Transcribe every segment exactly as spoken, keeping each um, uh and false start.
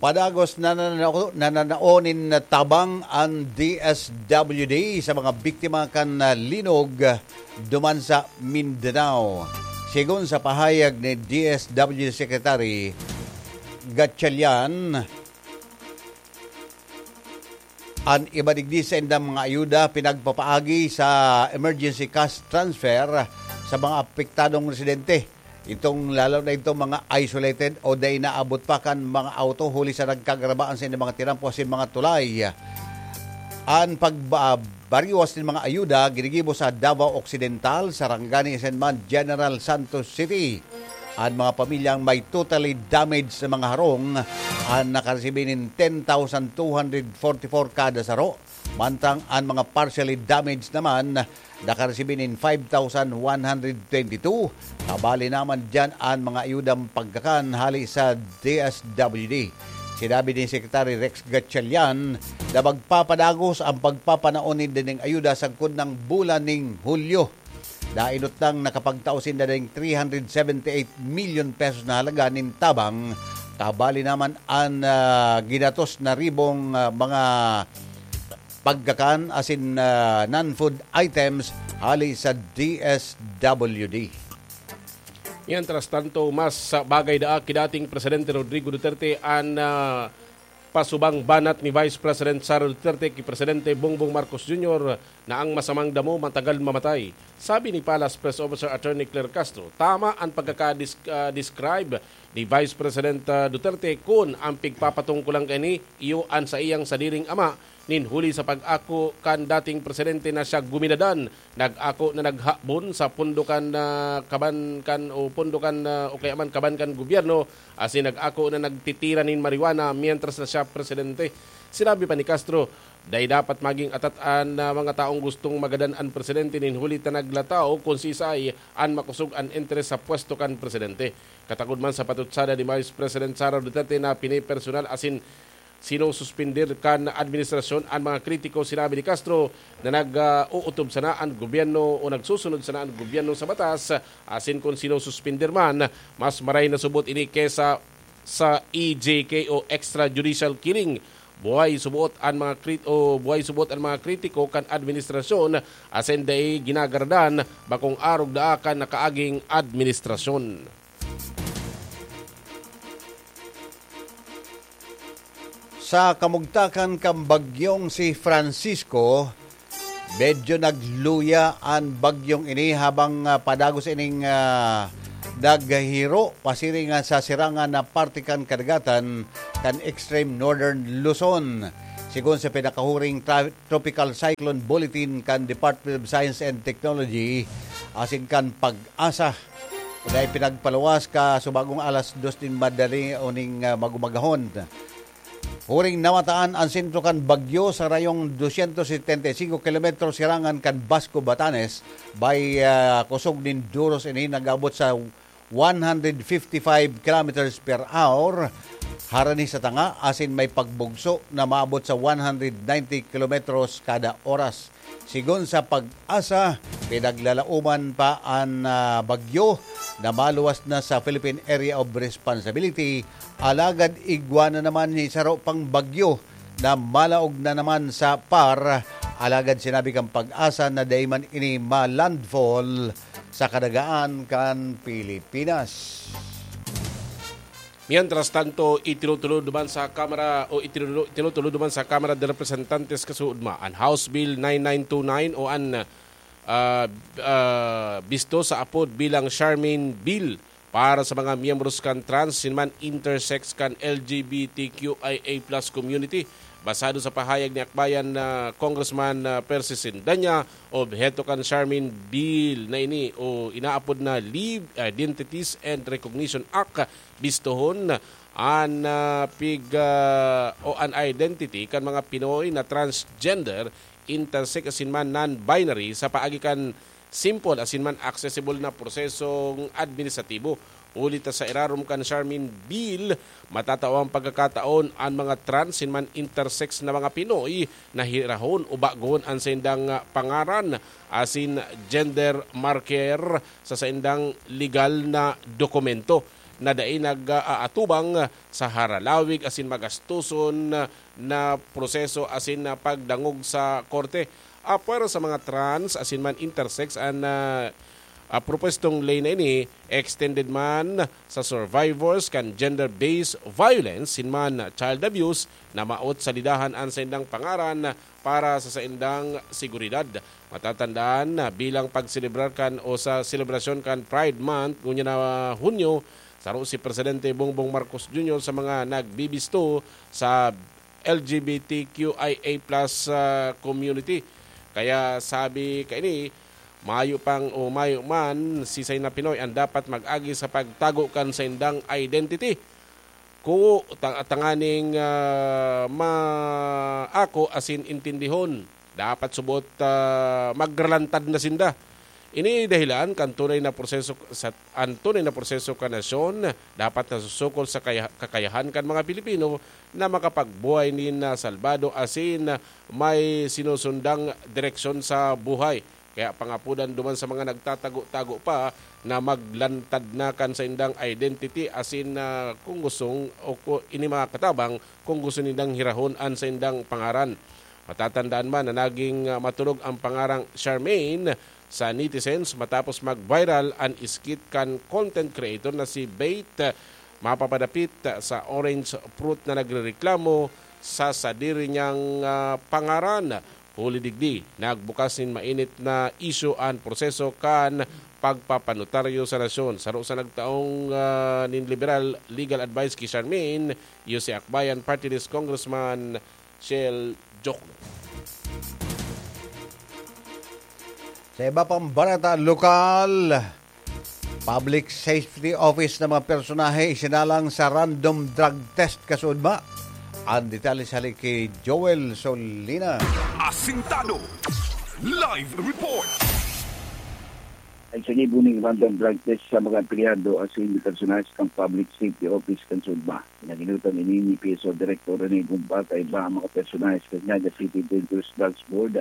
Padagos na nananao, nananao nin tabang an D S W D sa mga biktima kan, ah, linog duman sa Mindanao. Sigon sa pahayag ni D S W D Secretary Gatchalian, an iba digdi sa indang mga ayuda pinagpapaagi sa emergency cash transfer sa mga apektadong residente. Itong lalo na itong mga isolated o dai naabot pa kan mga auto huli sa nagkagarabaan sa ining mga tinampo asin mga tulay. An pagbariwas nin mga ayuda ginigibo sa Davao Occidental, Sarangani asin man General Santos City. An mga pamilyang may totally damaged na mga harong an nakaresibi nin ten thousand two hundred forty-four kada saro, mantang an mga partially damaged naman nakaresibi nin five thousand one hundred twenty-two. Kabali naman diyan an mga ayudang pagkakan hali sa D S W D. Sinabi ni Secretary Rex Gatchalian na magpapadagos ang pagpapanao ninda ning ayuda sagkod nang bulan ning Hulyo. Dainot nang nakapagtao sinda ning three hundred seventy-eight million pesos na halaga nin tabang, kabali naman an, ah, ginatos na ribong, ah, mga pagkakan asin, ah, non-food items hali sa D S W D. Mientras tanto, mas bagay daa ki dating Presidente Rodrigo Duterte an, ah, pasubang banat ni Vice President Sara Duterte ki Presidente Bongbong Marcos Junior na ang masamang damo matagal mamatay. Sabi ni Palace Press Officer Attorney Claire Castro, tama an pagkaka-dis-, ah, describe ni Vice President, ah, Duterte kun ang pigpapatungkulan kaini iyo an saiyang sadiring ama nin huli sa pag-ako kan dating presidente na siya guminadan, nag-ako na naghabon sa pondo kan, ah, kaban kan o pondo kan, ah, o kaya man kaban kan gobyerno, asin nag-ako na nagtitira nin marijuana mientras na siya presidente. Sinabi pa ni Castro, dai dapat maging atat an, ah, mga taong gustong magadan an presidente nin huli ta naglataw kun siisay an makosog an interes sa pwesto kan presidente. Katagod man sa patutsada ni Vice President Sara Duterte na pinipersonal asin sinususpender kan administrasyon an mga kritiko, sinabi ni Castro na nag, ah, uutob sana an gobyerno o nagsusunod sana an gobyerno sa batas, asin kun sinususpender man, mas maray na subot ini kesa sa E J K o extrajudicial killing. Buhay suboot an mga krit-, o buhay suboot an mga kritiko kan administrasyon asin dai ginagaradan, bakong arog daa kan nakaaging administrasyon. Sa kamugtakan kan bagyong si Francisco, medyo nagluya an bagyong ini habang, ah, padagos ining, ah, naghihiro pasiring sa sirangan na parte kan kadagatan kan extreme northern Luzon. Sigon sa pinakahuring tra-, Tropical Cyclone Bulletin kan Department of Science and Technology asin kan PAGASA, na ipinagpaluwas ka subagong alas dos nin madali o ning, ah, magumagahon. Huring namataan an sentro kan bagyo sa rayong dosyentos setenta y cinco kilometro sirangan kan Basco, Batanes, bay, ah, kosog nin duros ini nag-abot sa one hundred fifty-five kilometers per hour harani sa tanga, asin may pagbugso na maabot sa one hundred ninety kilometros kada oras. Sigon sa PAGASA, pinaglalaoman pa an, ah, bagyo na maluwas na sa Philippine Area of Responsibility, alagad igwa na naman ni saro pang bagyo na malaog na naman sa PAR. Alagad sinabi kan PAGASA na dai man ini ma-landfall sa kadagaan kan Pilipinas. Mientras tanto, itinutulod duman sa Kamara o itinulo-, itinutulod duman sa Kamara de Representantes kasuodma an House Bill nine nine two nine o an, ah, ah, bisto sa apod bilang Charmaine Bill para sa mga miyembros kan trans, sinuman intersex kan L G B T Q I A plus community. Basado sa pahayag ni Akbayan na Congressman, ah, Persis Sindanya, obheto kan Charmaine Bill na ini o inaapod na Live Identities and Recognition Act, bistohon an, ah, pig-, ah, o an identity kan mga Pinoy na transgender, intersex asin man non-binary sa paagi kan simple asin man accessible na prosesong administratibo. Huli ta sa irarom kan Charmaine Bill, matatao ang pagkakataon an mga trans asin man intersex na mga Pinoy na hirahon o bagoon an saindang pangaran asin gender marker sa saindang legal na dokumento. na dai nag-aatubang sa haralawig asin magastoson na proseso asin na pagdangog sa korte. Apwera sa mga trans asin man intersex an, ah, ah, propwestong ley na ini, extended man sa survivors kan gender-based violence asin man child abuse na maot salidahan an saindang pangaran para sa saindang seguridad. Matatandaan na bilang pagselebrar kan o sa selebrasyon kan Pride Month ngunyan na Hunyo, saro si Presidente Bongbong Marcos Junior sa mga nagbibisto sa L G B T Q I A plus, ah, community. Kaya sabi kaini, mayo pang o mayo man, sisay na Pinoy ang dapat mag-agi sa pagtago kan saindang identity. Kuo ta-, tanganing, ah, maako asin intindihon. Dapat subot, ah, magralantad na sinda. Ini dahilan kan tunay na proseso sa, an tunay na proseso kan nasyon dapat nasusukol sa kaya-, kakayahan kan mga Pilipino na makapagbuhay nin, ah, salbado asin may sinusundang direksyon sa buhay. Kaya pangapodan duman sa mga nagtatago-tago pa na maglantad na kan saindang identity asin, ah, kung gustong o ku-, ini mga katabang kung gusto nindang hirahon an saindang pangaran. Matatandaan man na naging, ah, maturog ang pangarang Charmaine sa netizens matapos mag-viral an skit kan content creator na si Bait, ah, mapapadapit sa orange fruit na nagrereklamo sa sadiri niyang, ah, pangaran. Huli digdi, nagbukas nin mainit na isyu an proseso kan pagpapanotaryo sa nasyon. Saro sa nagtaong, ah, nin liberal legal advice ki Charmaine, iyo si Akbayan Party List Congressman Shell Jokno. Sa iba pang balita lokal, Public Safety Office na mga personahe isinalang sa random drug test kasuodma. Ang detalye sa hali ki Joel Solina. Asintado. Live report. Ang sinibo ning random drug test sa mga empleyado asin personahe kan Public Safety Office kan SUDMA. Pinaginutan ini ni P S O Director Rene Gumba kaiba ang mga personahe sa Naga City Dangerous Drugs Board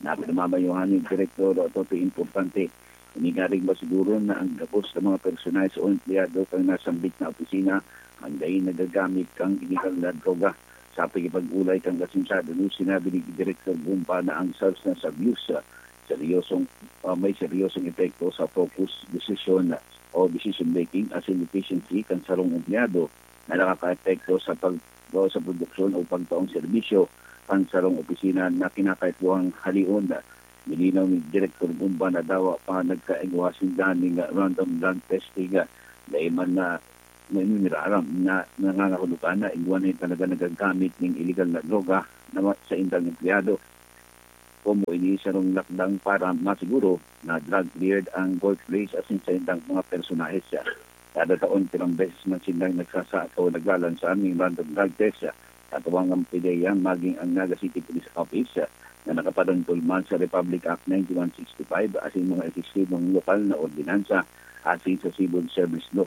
na pinamamayuhan ni Direktor Toto Importante. Ini ngaring masiguro na ang gabos na mga personahe o empleyado kan nasambit na opisina ang dai nagagamit kan iligal na droga. Sa pakikipag-olay kan Kasinsadohan, sinabi ni Direktor Gumba na ang substance abuse, ah, seryosong, ah, may seryosong epekto sa focus, decision, o decision making asin efficiency kan sarong empleyado na nakakaapekto sa pag-, sa produksyon o pagtaong serbisyo kan sarong opisina na kinakaipuhang halion. Nilinaw ni Direktor Gumba na dawa pa nagkaigwa sinda ning random drug testing, ah, dai man na, na niraram na nangangahulugan na igwa na talaga nagagamit ning iligal na droga na ma-, sa indang empleyado. Komo ini sarong lakdang para masiguro na drug cleared ang workplace asin sa indang mga personahe siya. Kada taon, pirang beses man sindang nagsasaka o naglalansa ning random drug test. Katuwang ang PDEA maging ang Naga City Police Office na nakaparangkol man sa Republic Act ninety-one sixty-five asin mga eksistibong lokal na ordinansa asin sa Civil Service Law.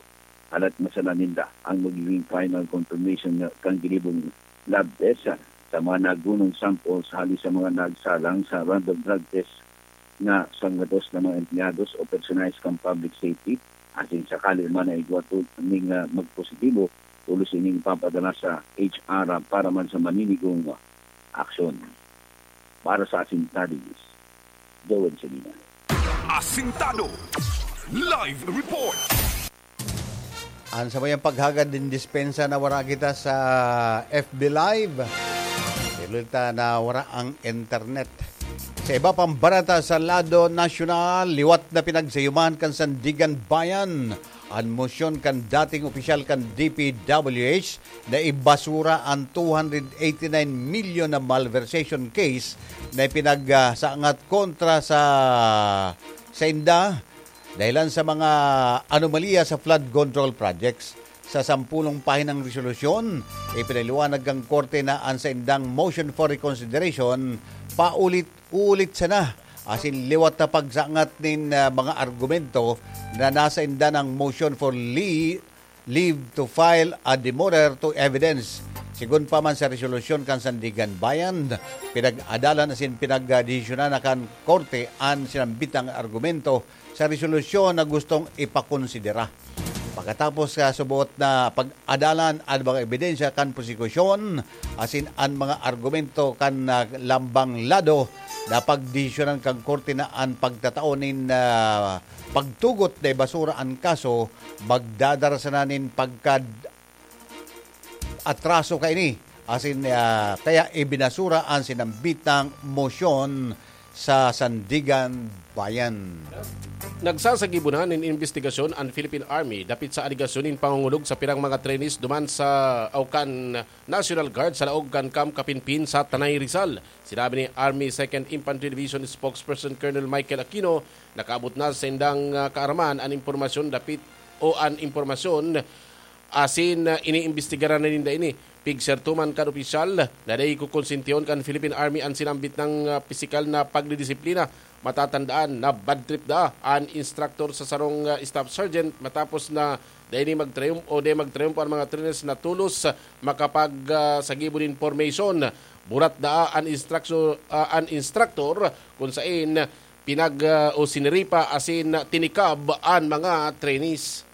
Halat masala ninda ang magiging final confirmation na kan ginibong lab test sa mga nagunong samples hali sa mga nagsalang sa random drug test na sanggatos na mga empleyados o personahe kan public safety, asin sakali man na igwa to ning, ah, magpositibo, tolos ining ipapadala sa H R para man sa maninigong aksyon. Para sa Asintado News, Joel Salina. Asintado Live Report. An sabayang paghagad nin dispensa na wara kita sa F B Live. Pero ta na wara ang internet. Sa iba pang barata sa lado nasyonal, liwat na pinagsayuman kan Sandiganbayan an mosyon kan dating opisyal kan D P W H na ibasura an two hundred eighty-nine million na malversation case na ipinagsangat kontra sa sainda dahilan sa mga anomalya sa flood control projects. Sa sampulong pahinang resolusyon, ipinaliwanag kan korte na an saindang motion for reconsideration paulit-ulit sana asin liwat na pagsangat nin, ah, mga argumento na nasa inda ng motion for le-, leave to file a demurrer to evidence. Sigon pa man sa resolusyon kan Sandiganbayan, pinag-adalan asin pinagdesisyonan na kan korte an sinambitang argumento sa resolusyon na gustong ipakonsidera. Pakatapos sa suboot na pag-adalan an mga ebidensya kan prosekusyon asin an mga argumento kan, ah, lambang lado, napagdesisyonan kan korte na an pagtatao nin, ah, pagtugot na ibasura an kaso magdadara sana nin pagka atraso kaini, asin, ah, kaya ibinasura an sinambitang mosyon sa Sandiganbayan. Nagsasagibo na nin imbestigasyon an Philippine Army dapit sa alegasyon nin pangongolog sa pirang mga trainees duman sa, o kan National Guard sa laog kan Camp Kapinpin sa Tanay, Rizal. Sinabi ni Army Second Infantry Division Spokesperson Colonel Michael Aquino, nakaabot na sa indang, ah, kaaraman an impormasyon dapit o an impormasyon asin, ah, iniimbestigaran na ninda ini. Pigserto man kan opisyal na dai kokonsentihon kan Philippine Army an sinambit nang, ah, pisikal na pagdidisiplina. Matatandaan na bad trip daa an instructor sa sarong, ah, staff sergeant matapos na dai ni magtrayum-, o dai magtrayumpo an mga trainers na tolos, ah, makapag, ah, sagibo nin formation. Burat daa an instructor, ah, an instructor kun saen pinag, ah, o siniripa asin tinikab an mga trainees.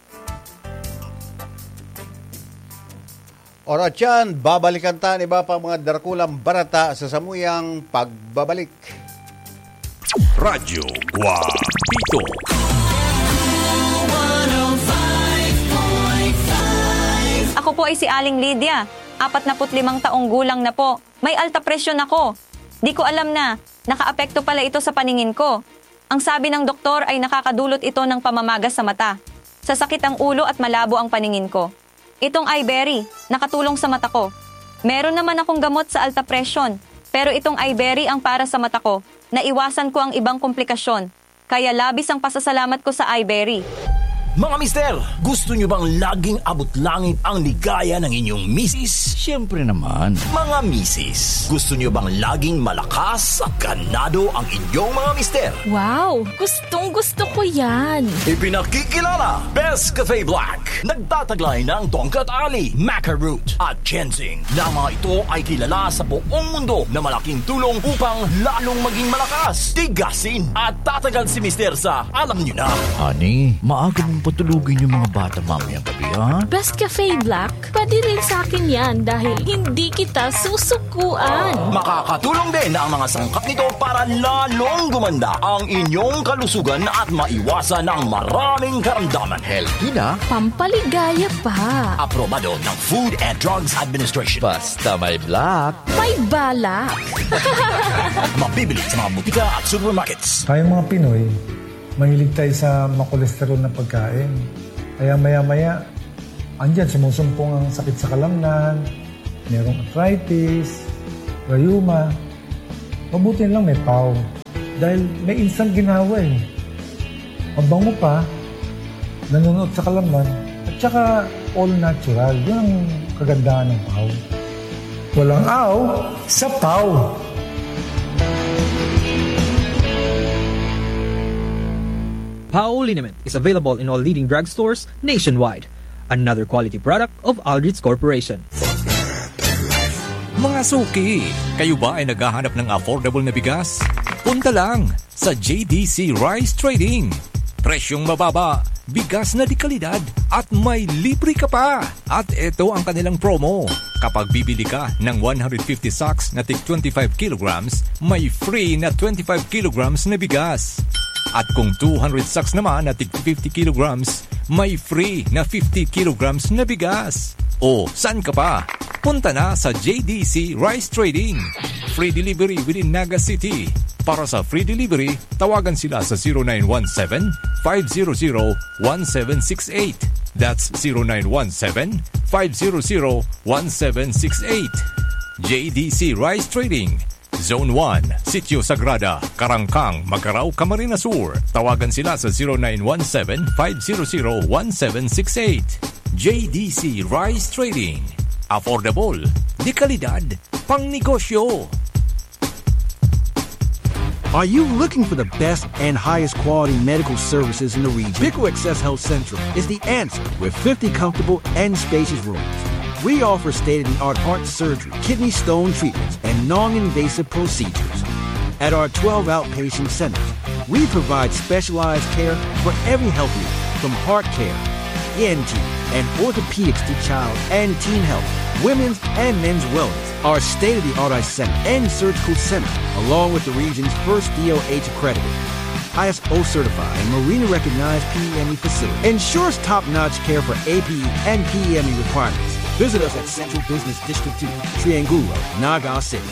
Oras yan, babalikan ta an iba pang mga darakulang barata sa samuyang pagbabalik. Radyo Guapito. Ako po ay si Aling Lydia, apat na put limang taong gulang na po. May alta presyon ako. Di ko alam na nakaapekto pala ito sa paningin ko. Ang sabi ng doktor ay nakakadulot ito ng pamamaga sa mata, sasakit ang ulo at malabo ang paningin ko. Itong Iberry, nakatulong sa mata ko. Meron naman akong gamot sa alta presyon, pero itong Iberry ang para sa mata ko. Naiwasan ko ang ibang komplikasyon. Kaya labis ang pasasalamat ko sa Iberry. Mga mister, gusto nyo bang laging abot langit ang ligaya ng inyong misis? Siyempre naman. Mga misis, gusto nyo bang laging malakas at ganado ang inyong mga mister? Wow! Gustong gusto ko yan! Ipinakikilala, Best Cafe Black. Nagtataglay ng tongkat ali, maca root, at ginseng na mga ito ay kilala sa buong mundo na malaking tulong upang lalong maging malakas, tigasin, at tatagal si Mister sa alam nyo na. Honey, maaga mong patulugin yung mga bata mamayang gabi, ha? Best Cafe Black, pwede rin sa akin yan dahil hindi kita susukuan. Makakatulong din ang mga sangkap nito para lalong gumanda ang inyong kalusugan at maiwasan ang maraming karamdaman. Healthy na, pampaligaya pa. Aprobado ng Food and Drugs Administration. Basta may black, may balak. Mabibili sa mga butika at supermarkets. Tayong mga Pinoy, mahilig tayo sa makolesterol na pagkain. Kaya maya-maya, andyan sumusumpong ang sakit sa kalamnan, merong arthritis, rayuma. Mabuti na lang may pau. Dahil may instant ginhawa eh. Mabango pa, nanunuot sa kalamnan, at saka all natural. Yun ang kagandahan ng pau. Walang aw sa pau. Pau liniment is available in all leading drugstores nationwide. Another quality product of Aldrich Corporation. Mga suki, kayo ba ay naghahanap ng affordable na bigas? Punta lang sa J D C Rice Trading. Presyong mababa, bigas na de kalidad, at may libre ka pa! At eto ang kanilang promo. Kapag bibili ka ng one hundred fifty sacks na tig twenty-five kilograms, may free na twenty-five kilograms na bigas. At kung two hundred sacks naman na tig fifty kilograms, may free na fifty kilograms na bigas. O, saan ka pa? Punta na sa J D C Rice Trading. Free delivery within Naga City. Para sa free delivery, tawagan sila sa zero nine one seven, five zero zero, one seven six eight. That's zero nine one seven, five zero zero, one seven six eight. J D C Rice Trading, Zone one, Sitio Sagrada, Karangkang, Magarao, Camarines Sur. Tawagan sila sa zero nine one seven, five zero zero, one seven six eight. J D C Rice Trading. Affordable, de kalidad, pangnegosyo. Are you looking for the best and highest quality medical services in the region? Pico Access Health Central is the answer with fifty comfortable and spacious rooms. We offer state of the art heart surgery, kidney stone treatments, and non invasive procedures. At our twelve outpatient centers, we provide specialized care for every health need, from heart care, E N T, and orthopedics to child and teen health, women's and men's wellness. Our state-of-the-art eye center and surgical center, along with the region's first D O H accredited, I S O certified, and Marina recognized P E M E facility, ensures top-notch care for A P E and P E M E requirements. Visit us at Central Business District two, Triangulo, Naga City.